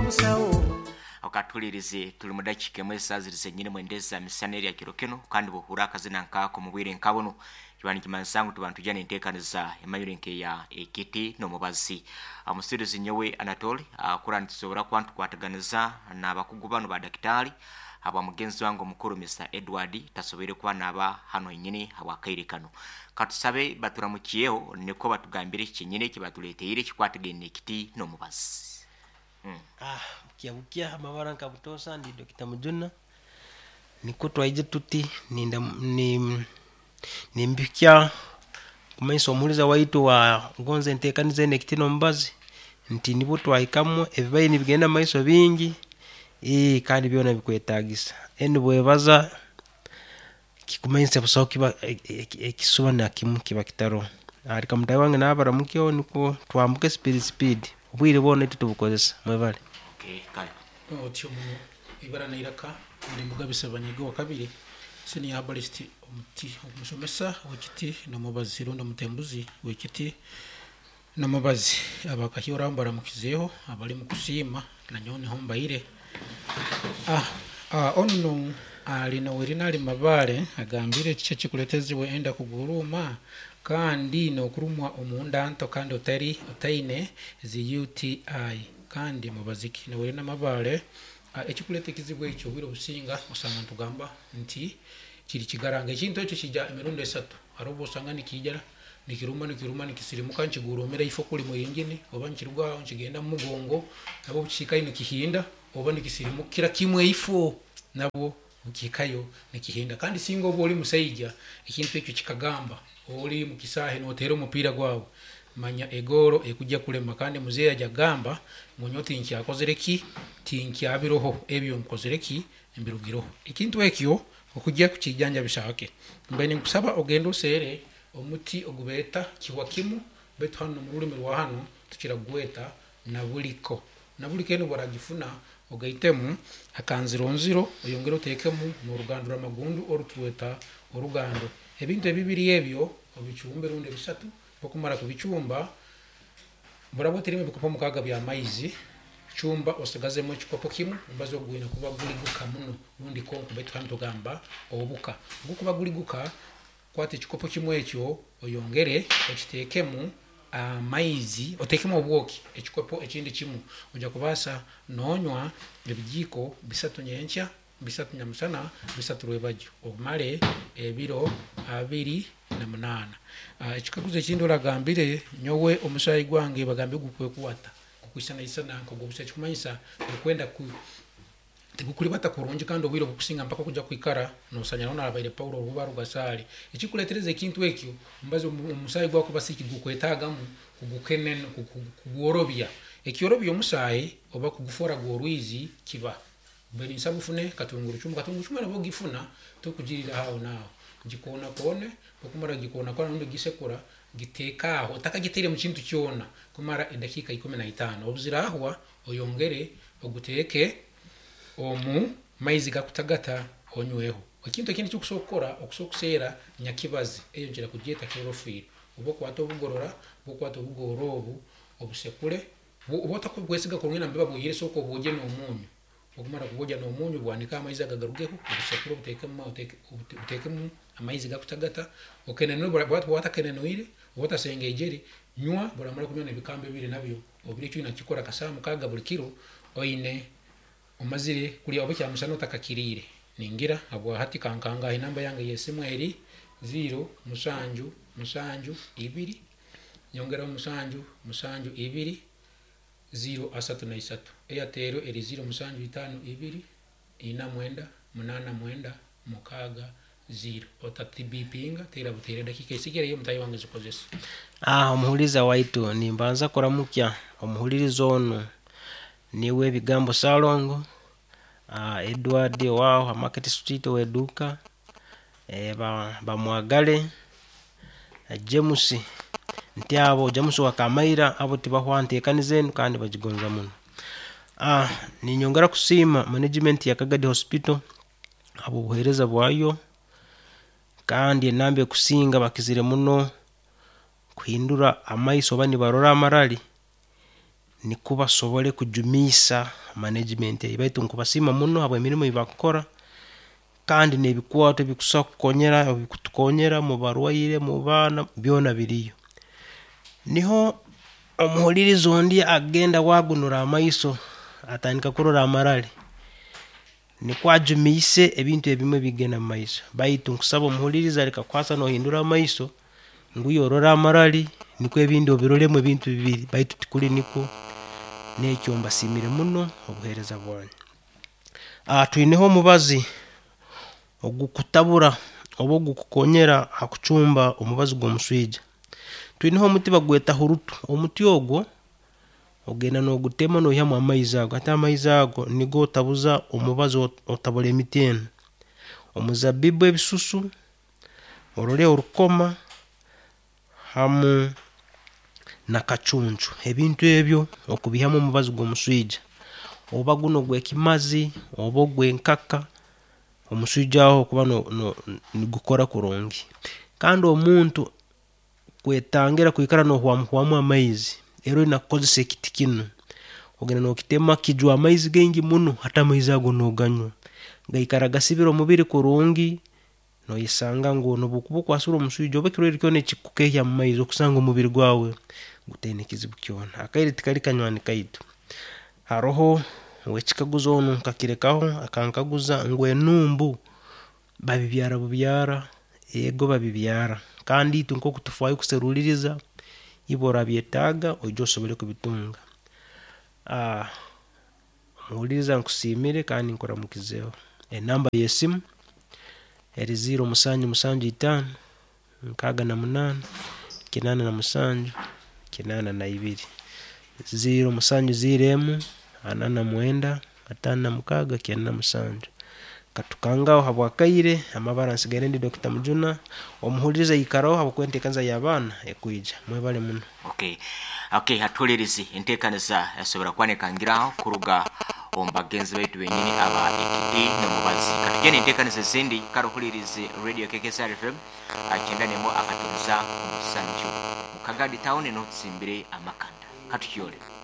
Omusawo. Okatuhulirize tuli mu dakiika emwe esaaha ziri zenyini mwenda eza misana erya kiro kinu kandi bwohurra akazina nkaako mu bwire nka bunu kiba nikimanyisa ngu tuba nitwija n'enteekaniza emanyirwe nk'eya Ekiti n'Omubazi. Omusirizi nyowe Anatole kurora nitusobora kuba nitukwataganiza n'abakugu banu ba dakitaali habwa mugenzi wange omukuru Mister Edward tasoboire kuba naaba hanu henyini habw'akaire kanu. Katusabe baturamukyeho nikwo batugambire eki kyenyini eki batuleeteire ekikwatagaine n'ekiti n'omubazi. Ah, bukya bukya amabara nka butoosa ndi Dokita Mujuna nikwo twaije tuti ninda ni nimbikya kumanyisa omuhuriza waitu wa gonza enteekaniza enu ekiti n'omubazi nti nibwo twahikamu ebibaire nibigenda mumaiso bingi ii kandi byona bikwetagisa. Enu bwebaza kikumanyisa busaho kiba ekisuba nakimu kiba kitaroho. Leka mutaahi wange nawe abaramukyeho nikwo twambuke speed speed obwire bwona itwe tubukozesa. Mwebale. Okay, kale. Otyo muno ibara n'eiraka ndi Mugabe Ssebanyige owakabiri senior herbalist omuti omushomesa w'ekiti n'omubazi rundi omutembuzi w'ekiti n'omubazi. Abakahyora mbaramukizeho abali mukusiima nanyowe niho mbaire. Ah, onu ali Nowerina ali Mabale agambire kiki ekikuletezibwa enda kuguruuma kandi n'okurumwa omunda nto kandi otari otaine zi UTI kandi mubazi ki? Nowerina Mabale ekikuleta ekizibu ekyo obwire obusinga osanga nitugamba nti kiri kigaranga. Ekintu ekyo kija emirundi esatu. Hariho obu osanga nikiija nikiruma nikiruma nikisirimuka nikiguruumira ifo kuri mwingini oba nikiruga aho nikigenda omu mugongo nabwo obu kihikayo nikihinda oba nikisirimukira kimwe ifo nabwo nikihikayo nikihinda. Kandi singa oba ori musaija ekintu ekyo kikagamba ori omu kisaahe noteera omupiira gwawe manya egooro ekujja kulema kandi muzeeyi aja kugamba ngu nyowe tinkyakozire ki tinkyabiroho ebyo nkozire ki mbirugireho. Ekintu ekyo okujja kukijanjabisa hake mbaire ninkusaba ogende oseere omuti ogubeeta kihwa kimu baitu hanu omu rurimi rwa hanu tukira kugweta nabuliko. Nabuliko enu obu oragifuna ogaitemu akanzironziro oyongere oteekemu n'orugando rw'amagundu oru tweta orugando. Ebintu ebibiri ebyo obicumbe rundi ebisatu, obu okumara kubicumba, buraba otairemu ebikopo mukaaga by'amaizi, cumba osigazemu ekikopo kimu, omubazi ogu gwine kuba guli guka muno rundi konko baitu hanu tugamba obuka. Obu gukuba guli guka, kwata ekikopo kimu ekyo oyongere okiteekemu amaizi, oteekemu obwoki ekikopo ekindi kimu. Oija kubaasa noonywa ebijiiko bisatu nyenkya, bisatu nyamusana, bisatu rwebagyo omare ebiro 28. Ekikaguzo ekindi oragambire, nyowe omusaayi gwange bagambire gukwekwata, gukwisanaisana nk'ogw'obusa ekikumanyisa gukwenda ku tigukuribata kurungi kandi obwire obukusinga mpaka okuja kwikara nosanyaraho narabaire Paulo oruba rugasaali. Ekikuletereza ekintu ekyo omubazi omusaayi gwawe kuba si tigukwetagamu kugukenena kugworobya. Ekyorobya omusaayi oba kugufora gw'orwizi kiba mbe ninsaba ofune katungurucumu. Katungurucumu enu obu ogifuna tokugiriira aho naaho, gikoonakoone, obu okumara kugikoonakoona rundi kugisekura, giteeke aho otakagitaire mu kintu kyona kumara edakiika 15. Obu ziraahwa oyongere oguteeke omu maizi gakutagata onyweho. Ekintu ekindi eki okusobola kukora, okusobola kuseera nyakibazi, eyo nkira kugyeta chlorophyll. Obu okwata obugorora, obu okwata obugorora obu, obusekure, obu otakukwesiga kurungi nambere babwihire sooka obwogye n'omuunyu. Okumara kubwogya n'omuunyu, bwanike amaizi ago agarugeho, obusekure obuteekemu amaizi gakutagata, okenenure, obu watakenenwire, obu otasengejere, nywa, obu oramara kunywa n'ebikambo ebiri nabyo, obirye eki oine kukikora akasaaha mukaaga buli kiro, oine omazire kurya oba ekyamusana otakakiriire. Ningira habwahati kankangahi enamba yange y'esimu eri ziiro mushanju mushanju ibiri nyongeraho mushanju mushanju ibiri ziiro asatu na isatu. Airtel eri ziiro mushanju itaano ibiri ina mwenda munaana mwenda mukaaga ziiro. Otatibipinga teera buteera edakiika esigireyo mutaahi wange zikozese. Ah, omuhuriza waitu nimbanza kuramukya omuhuririza onu niwe Bigambo Salongo, Edward owaaho ha Market Street ow'eduuka, Bamwagale, James nti abo James owa Kamaira abo tibahwa nteekaniza enu kandi bagigonza muno. Ninyongera kusiima management ya Kagadi Hospital habw'obuheereza bwayo kandi enamba ekusinga bakizire muno kuhindura amaiso oba nibarora amarari. Nikwo basobole kujumiisa management egi. Baitu nkubasiima muno habw'emirimo ei bakukora kandi n'ebikwato ebikusobora kukonyera ebikutukonyera mu barwaire, mu baana, byona biriyo. Niho omuhuliriza ondi agenda waagunura amaiso atandika kurora amarale. Nikwo ajumiise ebintu ebimwe bigenda mu maiso. Baitu nkusaba omuhuliriza leka kukwasa noohindura amaiso ngu iwe orole amarali nikwo ebindi obirolemu ebintu bibiri baitu tikuli nikwo. Nekyo mbasiimire muno obuheereza bwanyu. Twineho omubazi ogukutabura oba ogukukonyera ha kucumba omubazi gw'omuswija. Twineho omuti bagweta hurutu, omuti ogwo ogenda noogutema noihamu amaizi ago, hati amaizi ago nigo otabuza omubazi otabura emiti enu: omuzabibu ebisusu, orole orukoma, hamu na kacuncu. Ebintu ebyo okubiihamu omubazi gw'omuswija, oba gunu ogw'ekimazi oba ogw'enkaka, omuswija aho okuba nigukora kurungi. Kandi omuntu kwetangira kwikara noohwamuhwamu amaizi, ero oine kukozesa ekiti kinu, ogenda nookitema kijwa amaizi gaingi muno, hati amaizi ago nooganywa, gaikara gasibire omubiri kurungi, noyesanga ngu nobu okuba okwasirwe omuswija oba ekirwaire kyona ekikukehya mu maizi okusanga omubiri gwawe gutaine kizibu kyona. Akaire tikali kanywani kaitu. Haroho ow'ekikaguzo onu nkakirekaho akankaguza ngu enumbu babibyara bubyara? Ego babibyara kandi itwe nk'oku tufaayo kuseruliiriza, iwe orabyetaaga oije osobole kubitunga. Omuhuliriza nkusiimire kandi nkuramukizeho. Enamba y'esimu eri ziiro musanju musanju itaano, 68, 87, 82. Ziiro musanju ziiro emu, 49, 56, 97. Katukangaho habw'akaire, amabara nsigaire ndi Dokita Mujuna, omuhuliriza aikaraho habwokuba enteekaniza y'abaana ekwija. Mwebale muno. Okay. Okay, hatuhulirizi enteekaniza esobora kuba nekangiraho kuruga omu bagenzi baitu benyini aba Ekiti n'omubazi. Katugye n'enteekaniza ezindi kare ohulirize Radio KKSR FM 91.7 mu Kagadi town niho tusimbire amakanda. Katukyole.